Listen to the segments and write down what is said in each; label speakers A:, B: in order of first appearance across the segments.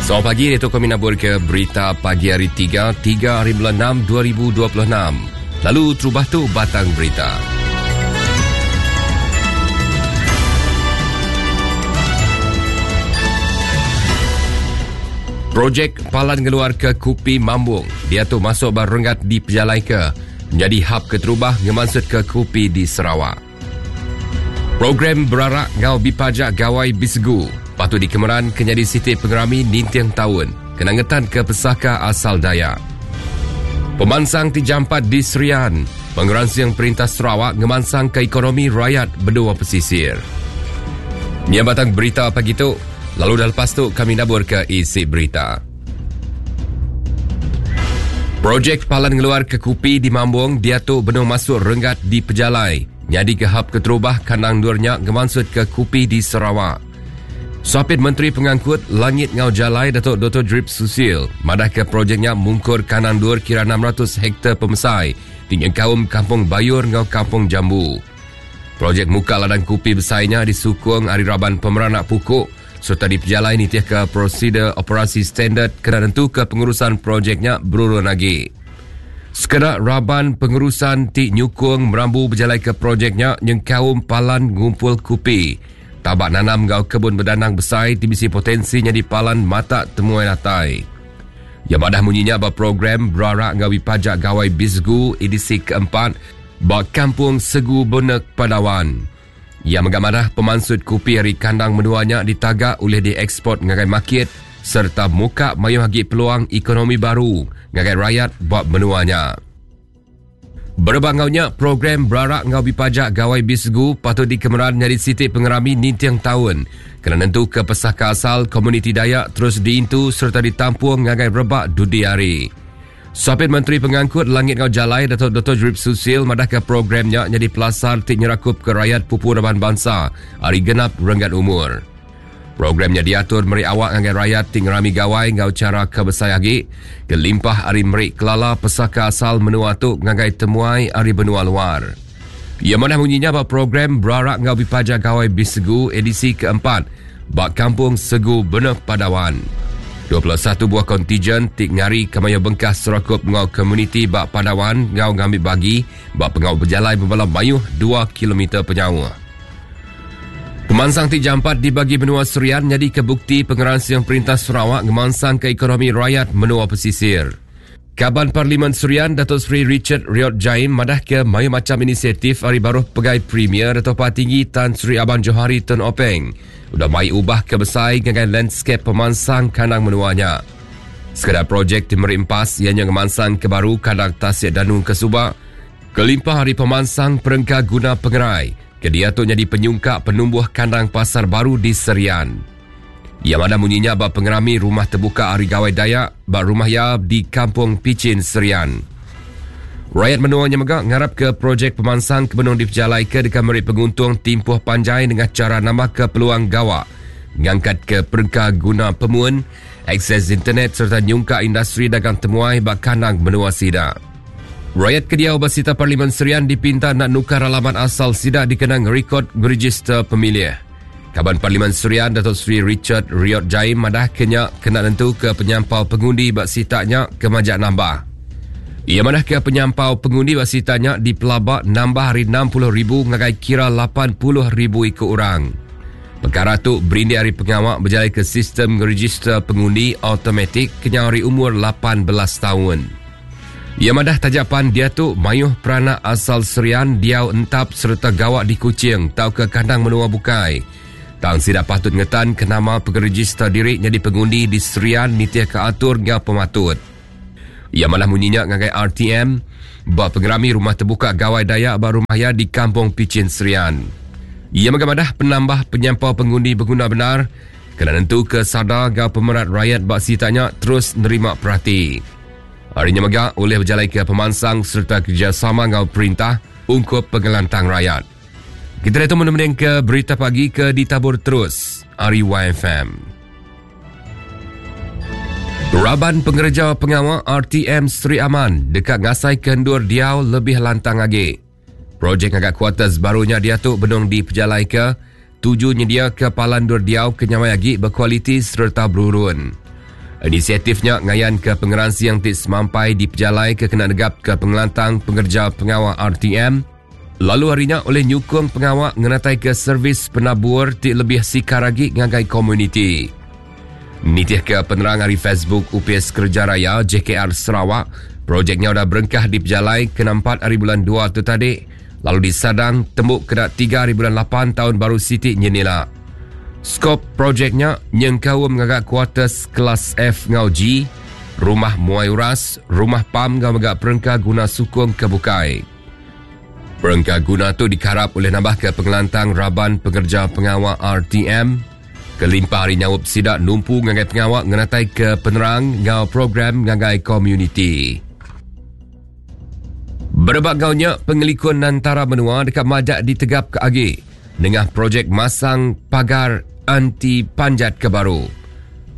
A: Selamat pagi, itu kami nabur ke berita pagi hari 3, 3 hari bulan 6, 2026. Lalu terubah tu batang berita. Projek Palan Ngeluar ke Kupi Mambung dia tu masuk barenggat di Pejalai ke menjadi hub keterubah ngemansut ke kupi di Sarawak. Program berarak ngau bipajak gawai Bisegu patut dikemeran ke nyadi siti pengerami ninting taun kena ngetan ke pesaka asal Dayak. Pemansang ti jampat di Serian, pengeransing Perintah Sarawak ngemansang ke ekonomi rakyat benua pesisir. Nya batang berita pagi tu, lalu dah lepas tu kami nabur ke isi berita. Projek Palan Ngeluar ke Kupi di Mambong diatu benung masuk renggat di pejalai nyadi ke hub keterubah kandang endur nya ngemansut ke kupi di Sarawak. Sapit Menteri Pengangkut Langit Ngau Jalai Datuk Dr. Drip Susil madah ke projek nya mungkur kandang endur kira 600 hektar pemesai ti nyengkaum Kampung Bayur enggau Kampung Jambu. Projek muka ladang kupi besai nya disukung ari raban pemeranak pukuk sereta dipejalai nitihka prosedur operasi standard kena nentuka pengurusan projek nya berurun agi. Sekeda raban pengurusan ti nyukung merambu bejalaika projek nya nyengkaum palan ngumpul kupi, tabak nanam enggau kebun bedanang besai ti bisi potensi nyadi palan matak temuai datai. Iya madah munyi nya ba program Berarak enggau Bipajak Gawai Bisgu edisi keempat ba Kampung Segu Benek Padawan. Iya mega madah pemansut kupi ari kandang menua nya ditaga ulih dieksport ngagai makit sereta muka mayuh agi peluang ekonomi baru ngagai rayat ba menua nya. Berebak enggau nya, program Berarak enggau Bipajak Gawai Bisgu patut dikemeran nyadi siti pengerami ninting taun kena nentuka pesaka asal komuniti Dayak terus diintu sereta ditampung ngagai rebak dudi hari. Sapit Menteri Pengangkut Langit enggau Jalai Datuk Dr. Jerip Susil madahka program nya nyadi pelasar ti nyerakupka rayat pupu raban bansa ari genap renggat umur. Program nya diatur meri awak ngagai rayat ti ngerami gawai enggau chara ke besai agi kelimpah ari meri kelala pesaka asal menua tu ngagai temuai ari benua luar. Iya madah munyi nya ba program Berarak enggau Bipaja Gawai Bisegu edisi keempat ba Kampung Segu Beneh Padawan. 21 buah kontijen ti ngari ke mayuh bengkah serakup enggau komuniti ba Padawan enggau ngambi bagi ba pengawa bejalai bebala mayuh 2 kilometer penyauh. Pemansang ti jampat dibagi menua Serian nyadika bukti pengeransing Perintah Sarawak ngemansangka ekonomi rayat menua pesisir. Kaban Parlimen Serian Datuk Seri Richard Riot Jaim madahka mayuh macham inisiatif ari baruh pegai Premier Datuk Patinggi Tan Sri Abang Johari Tun Openg udah mai ubah ke besai ngagai landskap pemansang kandang menua nya. Sekeda projek ti meri empas iya nya ngemansangka baru kandang Tasik Danu ke suba kelimpah ari pemansang perengka guna pengerai ke diatu nyadi penyungkak penumbuh kandang pasar baru di Serian. Iya madah munyi nya ba pengerami Rumah Tebuka Hari Gawai Dayak ba rumah iya di Kampung Pichin, Serian. Rayat menua nya mega ngarapka projek pemansang ke benung dipejalaika deka meri penguntung timpuh panjai nengah chara nambahka peluang gawa, ngangkatka perengka guna pemun, akses internet sereta nyungkak industri dagang temuai ba kandang menua sida. Rayat ke diau ba sita Parlimen Serian dipinta enda nukar alamat asal sida dikena ngerikod ngerejister pemilih. Kaban Parlimen Serian Datuk Seri Richard Riot Jaim madah ke nya kena nentuka penyampau pengundi ba sitak nya ke majak nambah. Iya madah ke penyampau pengundi ba sitak nya dipelaba nambah ari 60,000 ngagai kira 80,000 iku orang. Pekara tu berindik ari pengawa bejalaika sistem ngerejister pengundi automatik kenyau ari umur 18 taun. Iya madah taja pan diatu mayuh peranak asal Serian diau entap sereta gawa di Kuching tauka kandang menua bukai, tang sida patut ngetanka nama pengerejista diri nyadi pengundi di Serian nitihka atur enggau pematut. Iya madah munyi nya ngagai RTM ba pengerami Rumah Tebuka Gawai Dayak ba rumah iya di Kampung Pichin Serian. Iya mega madah penambah penyampau pengundi beguna bendar kena nentuka sada enggau pemerat rayat ba sitak nya terus nerima perati. Ari nya mega ulih bejalaika pemansang sereta kerejasama enggau perintah ungkup pengelantang rayat. Kita diatu mending ke berita pagi ke ditabur terus ari YFM. Raban pengereja pengawa RTM Sri Aman deka ngasaika endur diau lebih lantang agi. Projek ngaga kuarters baru nya diatu benung dipejalaika tuju nyediaka palan endur diau ke nyamai agi bekualiti sereta berurun. Inisiatif nya ngayanka pengeransing ti semampai dipejalai ke kena negapka pengelantang pengereja pengawa RTM lalu ari nya ulih nyukung pengawa ngenataika servis penabur ti lebih sikar agi ngagai komuniti. Nitihka penerang ari Facebook Opis Kereja Raya JKR Sarawak, projek nya udah berengkah dipejalai kena empat ari bulan dua tu tadi lalu disadang tembu kena tiga ari bulan lapan taun baru siti nyin ila. Skop projek nya nyengkaum ngaga kuarters kelas F enggau G, rumah muai uras, rumah pam enggau mega perengka guna sukung ke bukai. Perengka guna tu dikarap ulih nambahka pengelantang raban pengereja pengawa RTM kelimpah ari nyaup sida numpu ngagai pengawa ngenataika penerang enggau program ngagai komuniti. Berebak enggau nya, pengelikun antara menua deka majak ditegapka agi nengah projek masang pagar anti panjat ke baru.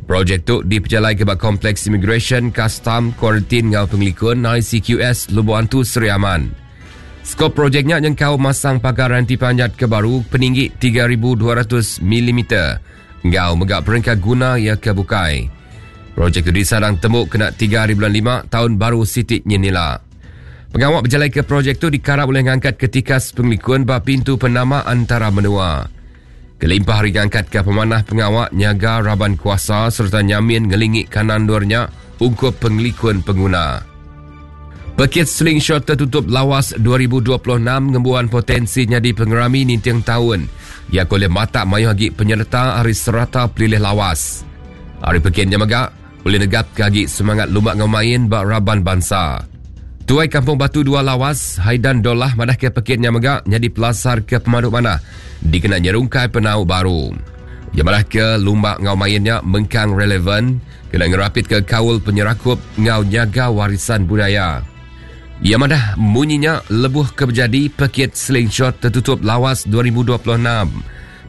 A: Projek tu dipejalaika ba Kompleks Imigresen, Kastam, Kuarantin enggau Pengelikun ICQS Lubok Antu Sri Aman. Skop projek nya nyengkaum masang pagar anti panjat ke baru peninggi 3200 milimeter enggau mega perengka guna iya ke bukai. Projek tu disadang tembu kena tiga hari bulan lima taun baru siti nyin ila. Pengawa bejalaika projek tu dikarap ulih ngangkatka tikas pengelikun ba pintu penama antara menua. Kelimpah ari ngangkatka pemanah pengawa nyaga raban kuasa sereta nyamin ngelingi kanan endur nya ungkup pengelikun penguna. Pekit Slingshot Tertutup Lawas 2026 ngembuan potensi nyadi pengerami ninting taun iya ke ulih matak mayuh agi penyereta ari serata pelilih Lawas. Ari pekit nya mega, ulih negapka agi semangat lumba enggau main ba raban bansa. Tuai Kampung Batu Dua Lawas, Haidan Dollah madahka pekit nya mega nyadi pelasar ke pemadu manah dikena nyerungkai penau baru. Iya madahka lumba enggau main nya mengkang relevan kena ngerapitka kaul penyerakup enggau nyaga warisan budaya. Iya madah munyi nya lebuh ke bejadi Pekit Slingshot Tertutup Lawas 2026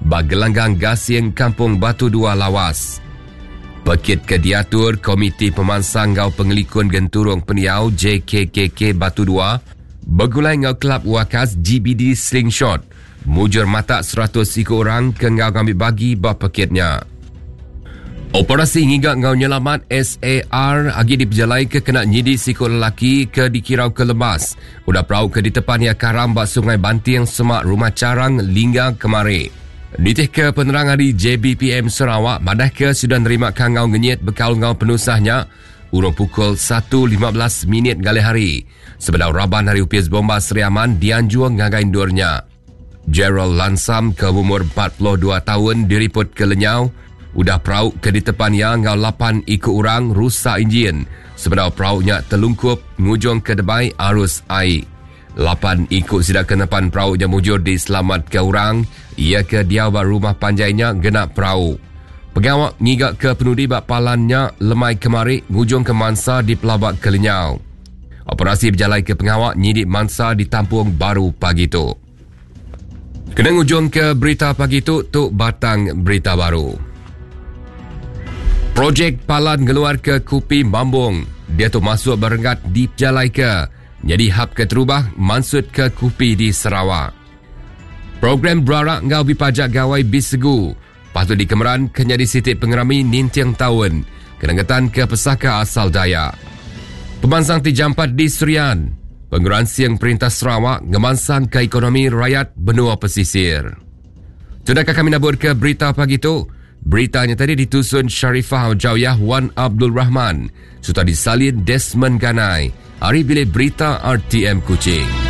A: ba Gelanggang Gasing Kampung Batu Dua Lawas. Pekit ke diatur Komiti Pemansang enggau Pengelikun Genturung Pendiau JKKK Batu Dua begulai enggau Kelab Wakas GBD Slingshot mujur matak 100 iku orang ke enggau ngambi bagi ba pekit nya. Operasi ngiga enggau nyelamat SAR agi dipejalaika kena nyidi siku lelaki ke dikirauka lemas udah perau ke ditepan iya karam ba Sungai Banting semak Rumah Charang, Lingga kemari. Nitihka penerang ari JBPM Sarawak madahka sudah nerima kangau ngenyit bekaul enggau penusah nya urung pukul 1.15 minit ngalih hari sebedau raban ari Opis Bomba Sri Aman dianjung ngagai endur nya. Gerald Lansam ke umur 42 taun diripotka lenyau udah perau ke ditepan iya enggau lapan iku orang rusak injin sebedau perau nya telungkup ngujungka debai arus ai. Lapan iku sida ke nepan perau nya mujur diselamatka orang iya ke diau ba rumah panjai nya ngena perau. Pengawa ngiga ke penudi ba palan nya lemai kemari ngujungka mansa dipelaba ke lenyau. Operasi bejalaika pengawa nyidi mansa ditampung baru pagi tu. Kena ngujungka berita pagi tu, tu batang berita baru. Projek palan ngeluarka kupi Mambong diatu masuk ba renggat dipejalaika nyadi hub keterubah mansutka kupi di Sarawak. Program berarak enggau bipajak Gawai Bisegu patut dikemeran ke nyadi siti pengerami ninting taun kena ngetanka pesaka asal Dayak. Pemansang ti jampat di Serian, pengeransing Perintah Sarawak ngemansangka ekonomi rayat benua pesisir. Sudahkah kami naburka berita pagi tu? Berita nya tadi ditusun Sharifah Jauyah Wan Abdul Rahman serta disalin Desmond Ganai ari Bilik Berita RTM Kuching.